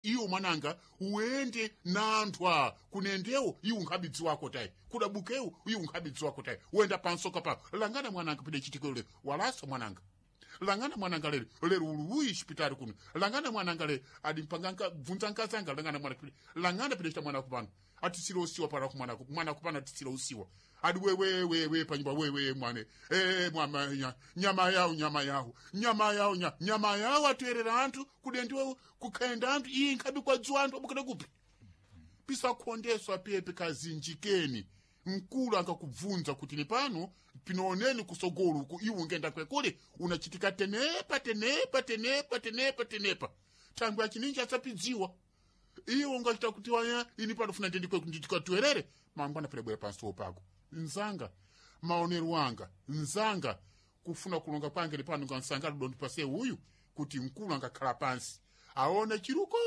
Iwo mwananga uende na anthu kunendewo iwo nkhabidzi wako tayi, kudabukewo iwo nkhabidzi wako tayi. Uenda pansoka pa langana mwananga pide chitiko lero walasa mwananga, langana mwananga lero lero uluwi xipitali kuno, langana mwananga lero adimpanga bvunza nkazanga, langana mwana pide, langana pide chita mwana kupano atisile usiwa para kumwana mwana kupano atisile usiwa adi wewewewe panyumba wewe mwane e mwama nyama yawo nyama yawo nyama yawo nyama yawo atoerera anthu kudendiwe kukhenda anthu iye nkhabi kwadziwa anthu abukira kupi pisakhondeswa pepe kazinjikeni. Mkulu angakubvunza kuti ni pano pinooneni kusogolo uku iwe ungenda kwekule unachitika tenepa tenepa tenepa tenepa tenepa thangwe achininji asapidziwa iwe ungachita kuti waya ini panofuna ndikatuerere mangwana pele pansi pako nzanga maonero anga nzanga kufuna kulonga kwange lipano ngansanga ludondipase uyu kuti mkulu angakhala pansi aone chiruko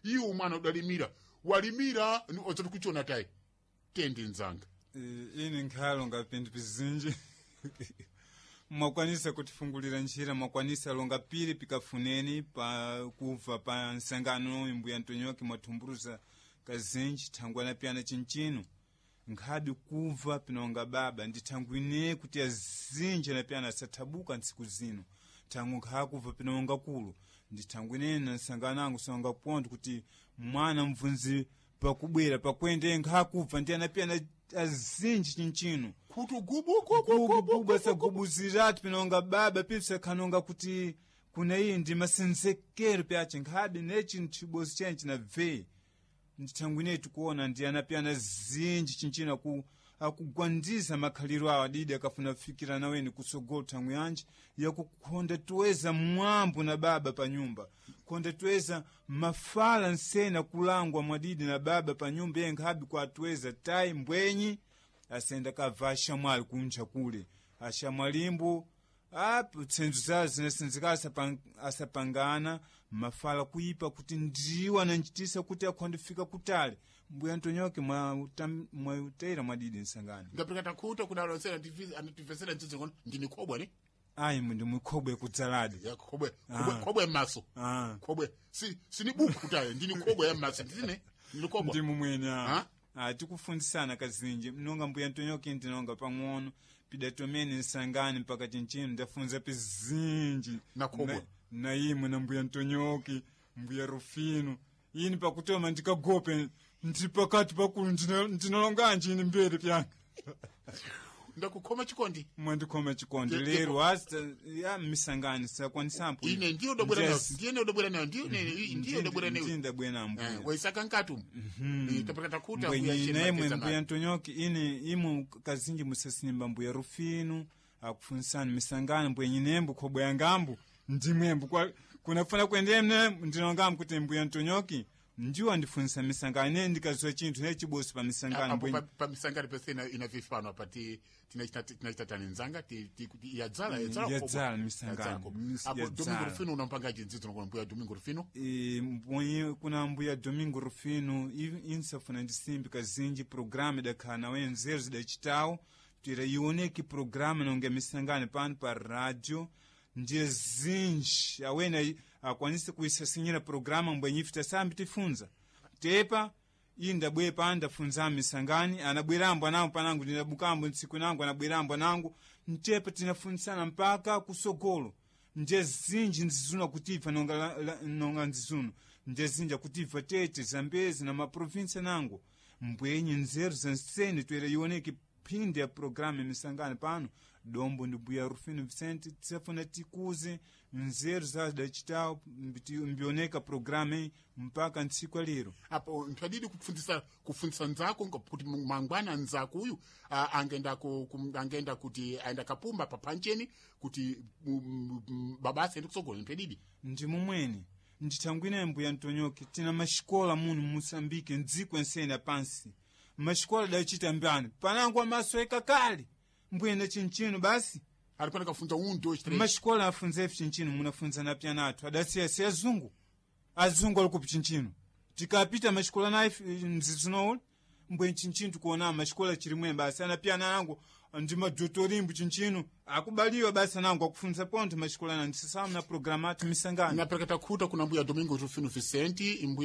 iwe mwana udalimira walimira odzati kuchiona tayi tendi nzanga. Ini nkhalo ngapindu pizinji mwakwanisa kutifungulira njira, mwakwanisa longa pili pikafuneni pa kubva pa nsangano mbuya Ntonyoki mwathumbuluza kazinji thangwana piyana chinchino nkhabi kubva pinonga baba ndi thangwi ine kuti azinji anapiyana asathabuka ntsiku zino thangu nkhakubva pinonga kulu ndi thangwi ine na nsangano angu songa ponto kuti mwana mvunzi pakubwera pakwende nkhakubva ndi anapiyana azinji chinchino kuti gubu gubu asagubuziratu pinonga baba pipsakhanonga kuti kuna iyi ndi masenzekero pyace nkhabe nechi chibosi chene chinabve ndithangwi ineyi tikuona ndi anapiyana zinji chinchino akugwandiza makhaliro awo adidi akafuna kufikira naweni kutsogolo thangwi yanji yakukhonda tuweza mwambo na baba pa nyumba khonda tuweza mafala nsena kulangwa mwadidi na baba pa nyumba iye nkhabi kwatuweza tayi mbwenyi asenda kabva ashamwali kunja kule ashamwalimbo apo tsenzo zawo zinasenzeka asapangana mafala kuipa kuti ndiwo ananchitisa kuti akhondifika kutali. Mbuya Ntonyoke mwautera mwadidi nsangano. Ngapika takhuta kuna alonsera anativesera mdzidzi ngono ndini khobwe ne. Ayi ndi mukhobwe kudzaladi. Ya khobwe khobwe khobwe maso. Khobwe si sini buku tayi ndini khobwe ya maso ndine ndini khobwe. Ndi mumwene a tikufunzisana kazinji mnonga mbuya Ntonyoke ndinonga pang'ono pidatomene nsangani mpaka chinchino ndafunza pizinji na khobwe na imwe na mbuya Ntonyoki mbuya Rufino ini pakutoma ndikagope ndi pakati pakulu ndinalonganji ini mbere pyanga. Ndakukhoma chikondi. Mwandikhoma chikondi lero asta ya misangani sakwanisampo. Ine ndiyo ndobwera nayo ndiye ndobwera nayo ndiyo ndiyo ndobwera nayo ndiye ndabwera nayo mbuya waisaka nkatu tapata takuta mbuya naimwe mbuya Ntonyoki ine imwe kazinji musasimba mbuya Rufino akufunsani misangani mbuya nyinembo khobwe yangambo ndimwembo kunafuna kuendemne ndinongambo kuti mbuya Ntonyoki ndiwo andifunisa misangano ine ndikaziwa chinthu ne chibosi pa misangano. Apo pa misangano pese ina vifano apa tinachita tani nzanga yadzala yadzala yadzala misangano. Apo Domingo Rufino unampanga jinzidzo nokuona mbuya Domingo Rufino. Kuna mbuya Domingo Rufino insafuna ndisimbi kazinji programa idakhala nawe nzeru zidachitawo tira ioneke programa nonge misangano pano pa radio ndiye zinji awene akwanise kuisasinyira programa mbwenyifita sambi tifunza tepa iyi ndabwere pano ndafunza misangani anabwerambo anangu panangu ndinabukambo ntsiku nangu anabwerambo anangu mtepa tinafunsana mpaka kusogolo ndiye zinji nzizuna kutibva nonga, nonga nzizuno ndiye zinji akutibva tete Zambezi na maprovinsi nangu mbwenyi nzeru zansene toera ioneke phindi ya programa misangano pano dombo ndi mbuya Rufino Vicente tisafuna tikuze nzeru zadachitawo mbioneka programa iyi mpaka ntsiku alero. Apo ntwadidi kupfundzisa kufundzisa nzako kuti mangwana nzako uyu angenda angenda kuti aenda kapumba papancheni kuti baba asaende kusogolo ntwadidi. Ndi mumwene ndithangwine mbuya Ntonyoki tina maxikola muno mu Moçambique mdziko ensene pansi maxikola dachita mbani panangu amaso ekakale mbuyenda chinchino basi alipana kafunza 1 2 3 maxikola afunza ife chinchino munafunza na pyanathu adasiya si azungu azungu ali kupi chinchino tikapita maxikola naye mzizinowula mbwe chinchino tikuona maxikola chirimwe basi anapyana nangu ndi madotorimbo chinchino akubaliwa basi nangu akufunza ponto maxikola na ndisisamu na programa athu misangano. Napereka takhuta kuna mbuya Domingo Rufino Vicente mbuya.